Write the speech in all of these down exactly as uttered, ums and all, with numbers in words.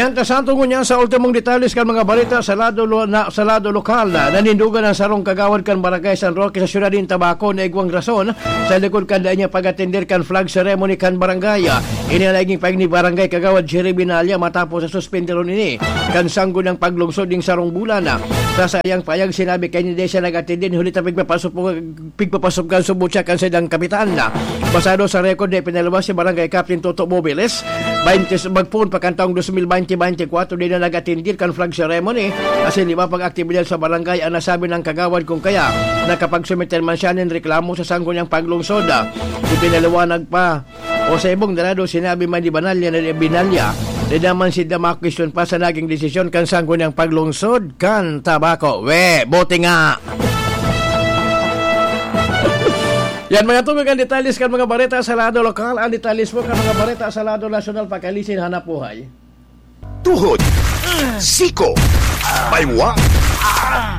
Mientras tanto, ngunyan sa ultimong detalles kan mga balita sa lado lo-, na, sa lado lokal, na nanindugan ang sarong kagawad kan Barangay San Roque sa siyudad nin Tabaco na igwang rason sa likod kan dai niya pag-atender kan flag ceremony kan barangay. Ini ang naging pahayag ni Barangay Kagawad Jerry Binalya matapos sa suspenderon ini kan sangguniang paglungsod ning sarong bulan. Sa saiyang pahayag, sinabi kaini dai siya nag-atender huli ta pigpapasupog pigpapasupgan subot siya kan saindang kapitan. Basado sa record na ipinalabas ni Barangay Captain Toto Mobiles, baynte, magpoon pa kan taong dos mil baynte baynte kwatro, di na nag-atendir kan flag ceremony asin iba pang aktibidad sa barangay ang nasabi ng kagawad, kung kaya nakapagsumiter man siya nin reklamo sa sangguniang paglungsod. Ipinaliwanag pa o sa ibong darado, sinabi man ni Banalya na Binalya, di naman sinda makwestiyon pa sa naging desisyon kan sangguniang paglungsod kan Tabaco. We, buti nga! Yan, mga tugog, ang detalles kan mga bareta sa lado lokal. Ang detalles po kan mga bareta sa lado nasyonal, pakalisin hanap buhay. Tuhod, siko, baywa,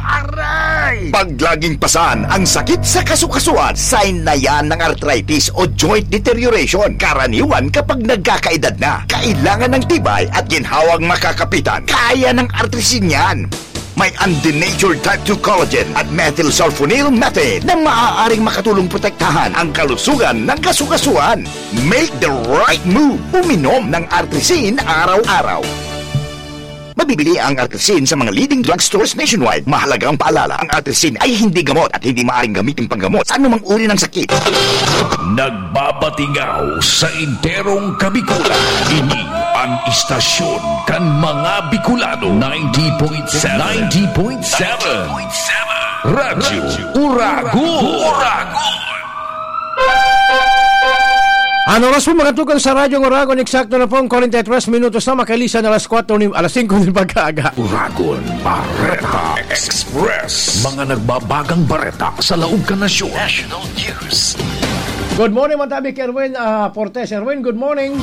aray! Pag laging pasan ang sakit sa kasukasuan, sign na yan ng arthritis o joint deterioration. Karaniwan kapag nagkakaedad na, kailangan ng tibay at ginhawang makakapitan. Kaya ng Artrisin yan. May undenatured type two collagen at methylsulfonyl methane na maaaring makatulong protektahan ang kalusugan ng kasukasuan. Make the right move. Uminom ng Artrisin araw-araw. Mabibili ang Artrisin sa mga leading drugstores nationwide. Mahalagang paalala, ang Artrisin ay hindi gamot at hindi maaaring gamitin panggamot sa anumang uri ng sakit. Nagbabatingaw sa enterong Kabikulan. Ini ang istasyon kan mga Bicolano. Ninety point seven. Ninety point seven. Radyo Uragon. Uragon. Ang oras po, mga tugang, sa Radyo Uragon, eksakto na pong kwarenta y tres minutos na makalisan alas kwatro ni, alas singko nin pagkaaga. Uragon Bareta Express. Mga nagbabagang bareta sa laog kan nasyon. National News. Good morning, Matabi, Erwin, ah, Fortes. Erwin, good morning.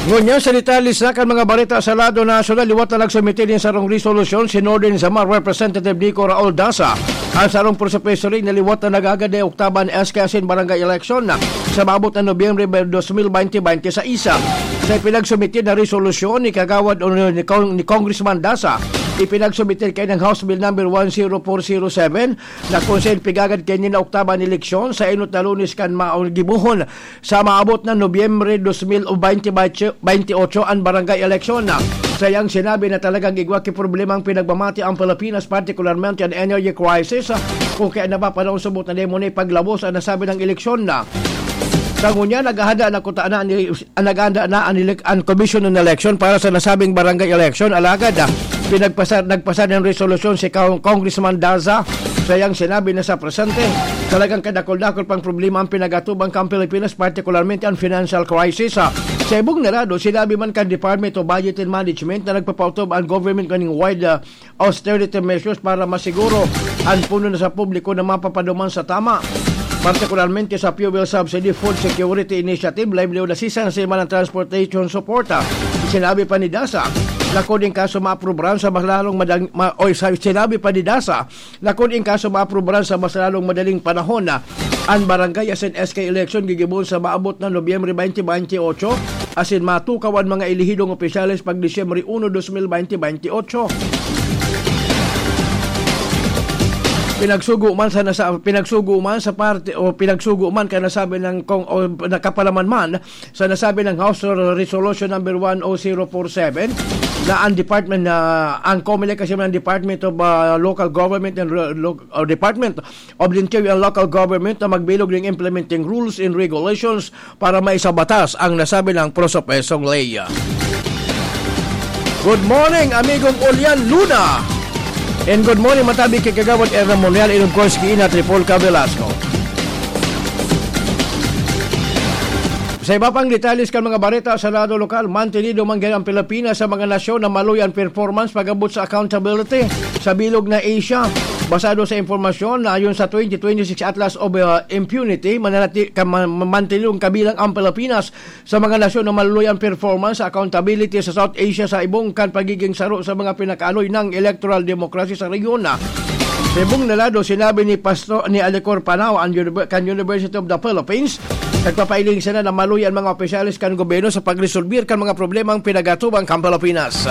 Ngunyan sa detalye sa kan mga bareta sa lado nasyonal, liwat na nagsumite nin sarong resolusyon si Northern Samar Representative Nico Raul Daza. Ang sarong preso-preso rin na liwat na nagagad na oktaban S K asin barangay election na sa maabot na Nobyembre dos mil baynte baynte sa isa. Sa ipinagsumite na resolusyon ni Kagawad o ni Cong-, ni Congressman Daza, ipinagsumite kaini ang House Bill number one zero four zero seven na kung saan pigagad kaini na oktaban eleksyon sa enot na Lunes kan maong gibohon sa maabot na Nobyembre dos mil o baynte baynte otso an barangay eleksyon. Sa iyang sinabi na talagang igwa ki problema ang pinagmamati ang Pilipinas, partikularmente an energy crisis, kung kaya napapanahon subot na demo na ipaglabos ang nasabi ng eleksyon na. Sa ngunyan, naghahanda na kuta na ni, naghahanda na an elek-, an Commission on Election para sa nasabing barangay election. Alagad, ah, pinagpasar-, nagpasar ng resolusyon si Cong-, Congressman Daza sa iyang sinabi na sa presente, talagang kadakul-dakul pang problema ang pinag-atubang kan Pilipinas, partikularmente ang financial crisis. Ah, sa ibong narado, sinabi man kan Department of Budget and Management na nagpapaotob ang government kaning wide, ah, austerity measures para masiguro ang puno na sa publiko na mapapaduman sa tama, partikularmente sa fuel subsidy, food security initiative, livelihood assistance, man ang transportation support. Ah, sinabi pa ni Daza, lakod in kaso maaprubaran sa mas lalong madang-, ma-, oy, sa, sinabi pa ni Daza, lakod in kaso maaprubaran sa mas lalong madaling panahon na an barangay asin S K election gigibon sa maabot na Nobyembre baynte baynte otso, asin matukaw an mga elehidong opisyales pag Disyembre uno, dos mil baynte baynte otso. Pinagsugo man sa nasa-, pinagsugo man sa parte, o pinagsugo man kan nasabi ng kong, o nakapalaman man sa nasabi ng House Resolution number one oh zero four seven na ang department na, ang Comelec kasi man ang Department of, ah, Local Government and Re-, Lo-, o Department of the Interior and Local Government na magbilog ng implementing rules and regulations para maisabatas ang nasabi ng prosopesong ley. Good morning, amigong Ulian Luna. And good morning, matabi kay Kagawad Erna Monreal, and of course, kay Ina Tripolca Velasco. Sa iba pang detalles kan mga bareta sa lado lokal, mantenido man gayod ang Pilipinas sa mga nasyon na maluya an performance pag-abot sa accountability sa bilog na Asia. Basado sa impormasyon na ayon sa twenty twenty-six Atlas of, uh, Impunity, mananati-, ka-, ma-, ma-, mantenidong kabilang ang Pilipinas sa mga nasyon na maluya an performance sa accountability sa South Asia sa ibong kan pagiging saro sa mga pinakaaloy ng electoral democracy sa rehiyon. Sa ibong na lado, sinabi ni Pastor, ni Alicor Panao, ang univer-, kan University of the Philippines, Nagpapailing sana na maluya ang mga opisyales kan gobyerno sa pagresolbir kan mga problemang pinagatubang kan Pilipinas.